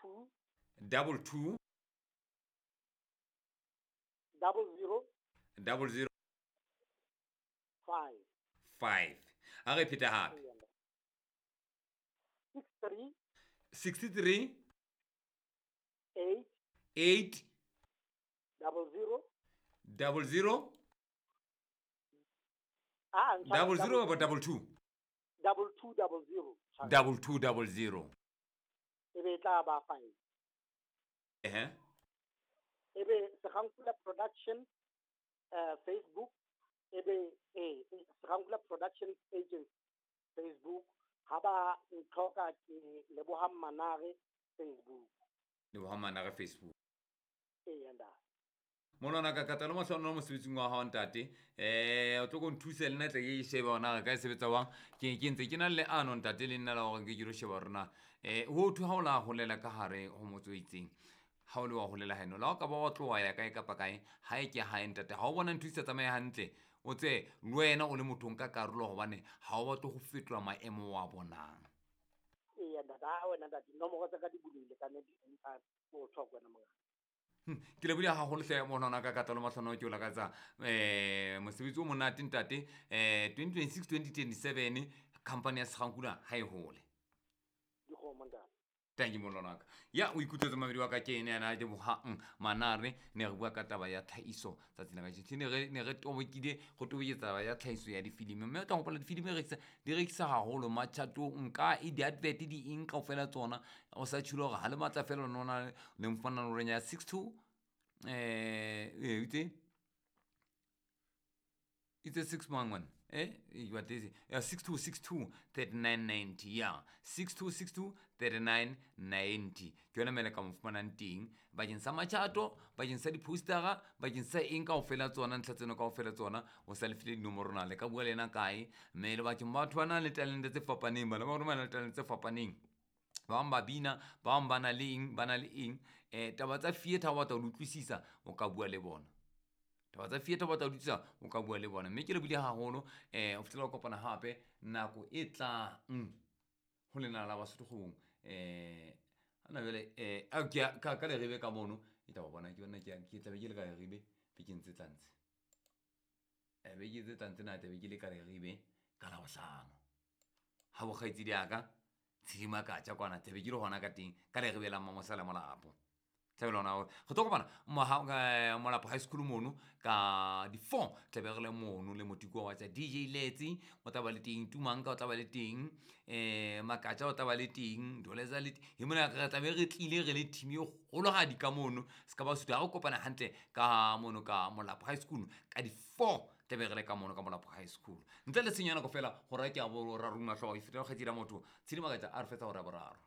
2 22 00 00 5. 5. A re pheta hape. Eya, ntate. 63 63 8 8 00 00 ah, 00 kapa 22? 22 00. 22 00. E be e tla ba 5. Ehe. E be Segankula Production Facebook, e be Segankula Production Agency Facebook. Ha ba ntlhoka ke Lebohang Manare Facebook. Lebohang Manare Facebook. Eya, ntate. Monwana ka katalo mahlono mosebetsing wa hao ntate. O tlo ko nthuse le nna tle ke shebe hore na re ka e sebetsa jwang. Ke ntse ke na le leano ntate le nna la hore ke lo sheba hore na ho thwe ha o la holela ka hare ho motse o itseng. Ha o le wa holela haeno, la o ka ba wa tloha ya kae kapa kae, ha e ke hae ntate. Ha o bona ntho e sa tsamaye hantle, o tse le wena o le motho o nka karolo hobane ha o batle ho fetola maemo wa bonang. Eya ntate, ha wena ntate, dinomoro tsa ka di bulehile ka nnete anytime o tlhoka wena mongaka. Ke lebohile haholo hle monwana ka katalo mahlono ke o lakatsa mosebetsi o monate ntate. 2026 2027 company ya Segankula ha e hole. Dikgomo ntate. Thank you molwana ka. Ya o ikutlwetse mamedi wa ka ke ene yana Lebohang Manare, ne re bua ka taba ya tlhahiso tsatsi la kajeno. Ne re tobokile go toboketsa taba ya tlhahiso ya difilimi, mme o tla hopola difilimi di rekisa haholo matjhatong ka e di-advert di eng kaofela tsona. O sa tjholo hore ha le matla fela lona le mfana nomorong ya 62 itse itse 6 mang ngwana? What is it? 6262 3990. Ya, 6262 3990. Ke yona mele ka mo fumanang teng bakeng sa matjhato, bakeng sa di-postera, bakeng sa eng kaofela tsona, ntlha tseno kaofela tsona. O sa lefile dinomoro na le ka bua le yena kae? Mme le bakeng batho ba nang le talente tse fapaneng, bana ba rona ba nang le talente tse fapaneng. Ba bang ba bina, ba bang ba na le eng, ba na le eng. Taba tsa theatre ha o batla ho di utlwisisa, o ka bua le bona. Taba tsa theatre o batla ho di utlwisisa, o ka bua le bona. Mme ke lebohile haholo, ho fihlela ho kopana hape nako e tlang ho lena la Basotho kgwebong. Hana jwale, ke a, ka Leribe ka mono, e tla ba bona, ke bona, ke tla be ke le ka Leribe bekeng tse tlang tse. Beke tse tlang tsena tla be ke le ka Leribe ka Labohlano. Ha bo kgaitsedi ya ka, Tshidima ka tja kwana, tla be ke le hona ka teng, ka Leribe la Mmamosala Molapo. Tla be le hona, re tlo kopana Molapo High School mono ka di 4, tla be re le mono le motiko wa tsa DJ Letsi, o tla ba le teng, Tumanka o tla ba le teng, Makatja o tla ba le teng, Doleza le teng. E mona re tla be re tlile re le team e kgolohadi ka mono, se ka ba sutha ha re kopana hantle ka mono ka Molapo High School ka di 4, tla be re le ka mono ka Molapo High School. Ntle le tshenyo ya nako fela, hora ke ya boraro mahloko, e fetela kgaitsedi ya motho, Tshidi Makatja a re fetsa hora ya boraro.